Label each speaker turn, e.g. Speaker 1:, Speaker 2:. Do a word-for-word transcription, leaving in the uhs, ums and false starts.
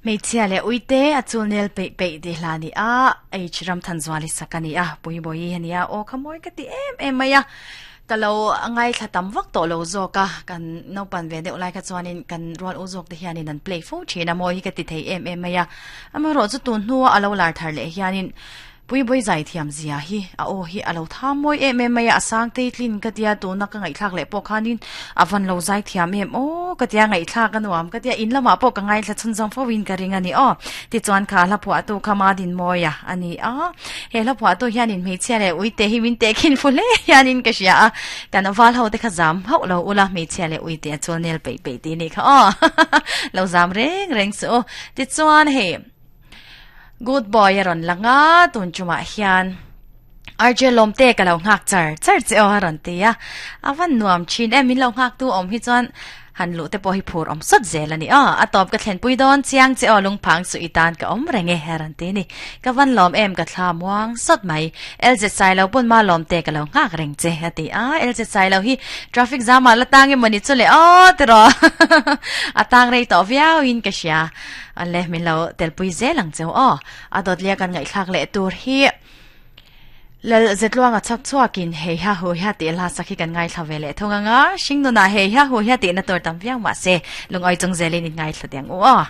Speaker 1: Hmeichhia leh uite a chulnel peih peih ti hla ni a H ram than zuali sak ani a puibawi ani a aw kha mawi ka ti em em mai a ka lo ngai thla tam vak tawh lo zawk a kan naupan ve deuh lai kha chuanin kan rual u zawk te hianin an play fo thin a mawi hi ka ti thei em em mai a amaherawh chu tun hnua a lo lar thar leh hianin puibawih zai thiam zia hi a aw hi a lo tha mawi em em mai a a sang te tlin ka tia tuna ka ngaihthlak leh pawh khanin a van lo zai thiam em aw ka tia ngaihthlak a nuam ka tia in lamah pawh ka ngaithla chhun zawng fo in ka ring ani aw tichuan kha hla phuah tu kha ma din mawi a ani a he hla phuah tu hianin hmeichhia leh uite hi min te khin fu hle hianin ka hria a kan val ho te kha zam hauh lo ula hmeichhia leh uite a chuan nel peih peih ti ni kha aw lo zam reng reng chu tichuan hei good boy a rawn langa tun chumah hian R J lawm te ka lo nghak char char che aw a rawn ti a avan nuam thin em min lo nghak tu awm hi chuan han lu te pawh hi phur awm sawt zel ani aw a tawp ka thlen pui dawn chiang che aw lungphang chu i tan ka awm reng e a rawn ti ni ka van lawm em ka thla muang sawt mai L Z sai lo pawn ma lawm te ka lo nghak reng che a ti a L Z sai lo hi traffic jam ah la tang emaw ni chu le aw tiraw a tang rei tawh viau in ka hria ale min lo telpui zel ang cheu aw a dawt lia kan ngaihthlak leh tur hi lal zetluanga chak chuakin hei ha hu ha ti la sakhi kan ngai thla ve leh thung anga hringnuna hei ha hu ha ti na tur tam viau ma se lungoi chung zelin in ngai thla tiang u aw.